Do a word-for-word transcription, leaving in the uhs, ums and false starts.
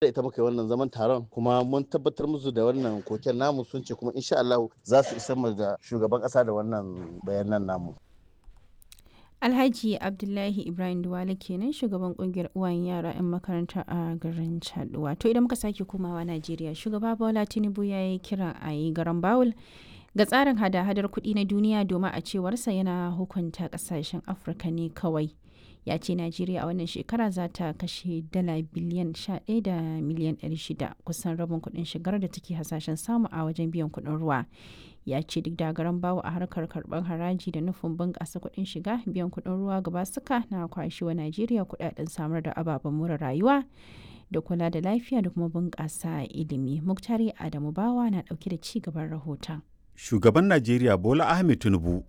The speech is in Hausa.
Da ita muka yi wannan zaman taron, kuma mun tabbatar musu da wannan koken namu, sun ce kuma insha Allah za su isar mu da shugaban kasa da wannan bayanan namu. Alhaji Abdullahi Ibrahim Duwale kenan, shugaban kungiyar uwayen yara 'yan makaranta a garin Chaduwa. To idan muka sake komawa Najeriya, shugaba Bola Tinubu ya yi kiran a yi garan bawul ga tsarin hada-hadar kuɗi na duniya, domin a cewarsa yana hukunta ƙasashen Afirka ne kawai. Ya ce Najeriya a wannan shekara za ta kashe dala biliyan sha ɗaya da miliyan ɗari shida, kusan rabin kuɗin shigar da take hasashen samu a wajen biyan kuɗin ruwa. Ya ce duk da garan bawo a harkar karɓar haraji da nufin bunƙasa kuɗin shiga, biyan kuɗin ruwa gaba suka na kwashewa Najeriya kuɗaɗen samar da ababen more rayuwa da kula da lafiya da kuma bunƙasa ilimi. Muktari Adamu Bawa na ɗauke da ci gaban rahoton. Shugaban Najeriya Bola Ahmed Tinubu